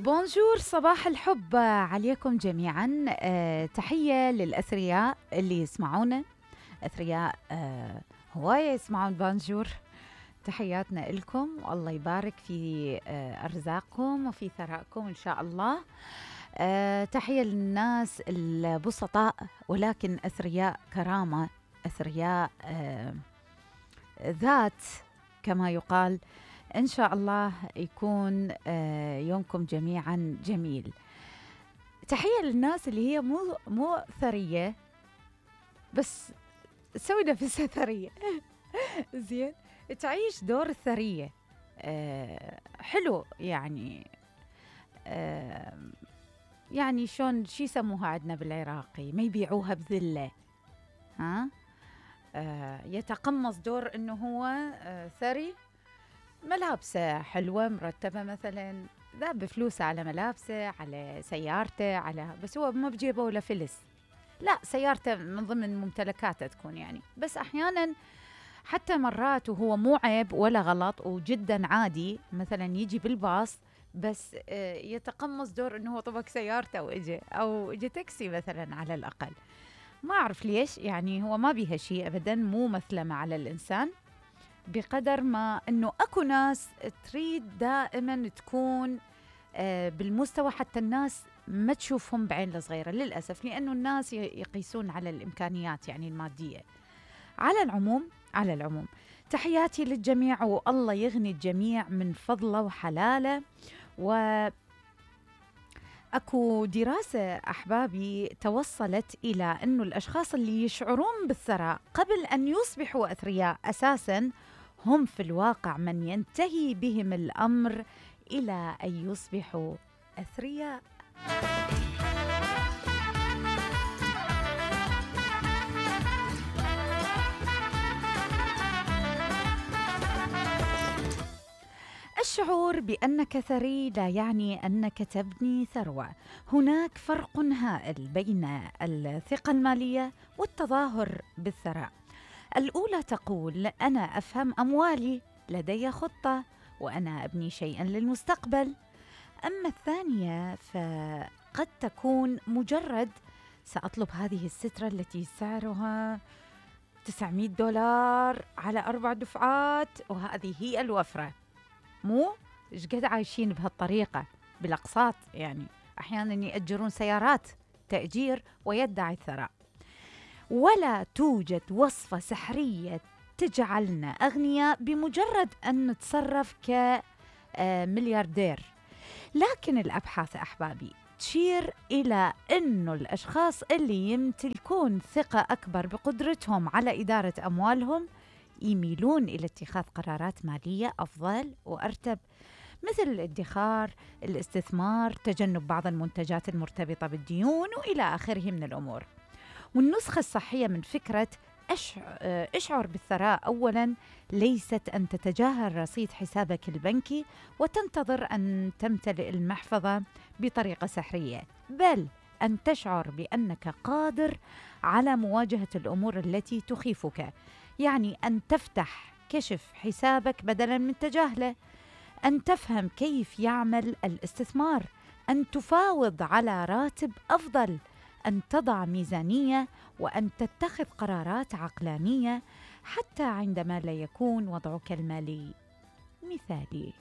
بونجور، صباح الحب عليكم جميعا. تحية للأثرياء اللي يسمعونا، أثرياء هواية يسمعون بونجور. تحياتنا لكم والله يبارك في أرزاقكم وفي ثرائكم إن شاء الله. تحية للناس البسطاء ولكن أثرياء كرامة، أثرياء ذات كما يقال. إن شاء الله يكون يومكم جميعا جميل. تحية للناس اللي هي مو ثرية بس تسوي نفسها ثرية زين، تعيش دور الثرية. حلو يعني. يعني شون شي يسموها عندنا بالعراقي، ما يبيعوها بذلة. ها يتقمص دور إنه هو ثري، ملابسه حلوة مرتبة مثلا، ذاب بفلوسه على ملابسه، على سيارته، على بس هو ما بجيبه ولا فلس. لا، سيارته من ضمن ممتلكاته تكون يعني، بس أحيانا حتى مرات وهو مو عيب ولا غلط وجدا عادي، مثلا يجي بالباص بس يتقمص دور إنه هو طبق سيارته أو إجي تاكسي مثلا على الأقل. ما أعرف ليش، يعني هو ما بيها شيء أبدا، مو مثلمة على الإنسان، بقدر ما أنه أكو ناس تريد دائما تكون بالمستوى حتى الناس ما تشوفهم بعين الصغيرة للأسف، لأنه الناس يقيسون على الإمكانيات يعني المادية. على العموم تحياتي للجميع، والله يغني الجميع من فضله وحلاله. أكو دراسة أحبابي توصلت إلى أنه الأشخاص اللي يشعرون بالثراء قبل أن يصبحوا أثرياء أساساً هم في الواقع من ينتهي بهم الأمر إلى أن يصبحوا أثرياء. الشعور بأنك ثري لا يعني أنك تبني ثروة. هناك فرق هائل بين الثقة المالية والتظاهر بالثراء. الأولى تقول أنا أفهم أموالي، لدي خطة، وأنا أبني شيئا للمستقبل. أما الثانية فقد تكون مجرد سأطلب هذه السترة التي سعرها $900 على 4 دفعات، وهذه هي الوفرة. مو إيش قد عايشين بهالطريقة بالأقساط، يعني أحيانا يأجرون سيارات تأجير ويدعي الثراء. ولا توجد وصفة سحرية تجعلنا أغنياء بمجرد أن نتصرف كملياردير. لكن الأبحاث أحبابي تشير إلى أنه الأشخاص اللي يمتلكون ثقة أكبر بقدرتهم على إدارة أموالهم يميلون إلى اتخاذ قرارات مالية أفضل وأرتب، مثل الادخار، الاستثمار، تجنب بعض المنتجات المرتبطة بالديون وإلى آخره من الأمور. والنسخة الصحية من فكرة اشعر بالثراء أولاً ليست أن تتجاهل رصيد حسابك البنكي وتنتظر أن تمتلئ المحفظة بطريقة سحرية، بل أن تشعر بأنك قادر على مواجهة الأمور التي تخيفك. يعني أن تفتح كشف حسابك بدلاً من تجاهله، أن تفهم كيف يعمل الاستثمار، أن تفاوض على راتب أفضل، أن تضع ميزانية، وأن تتخذ قرارات عقلانية حتى عندما لا يكون وضعك المالي مثالي.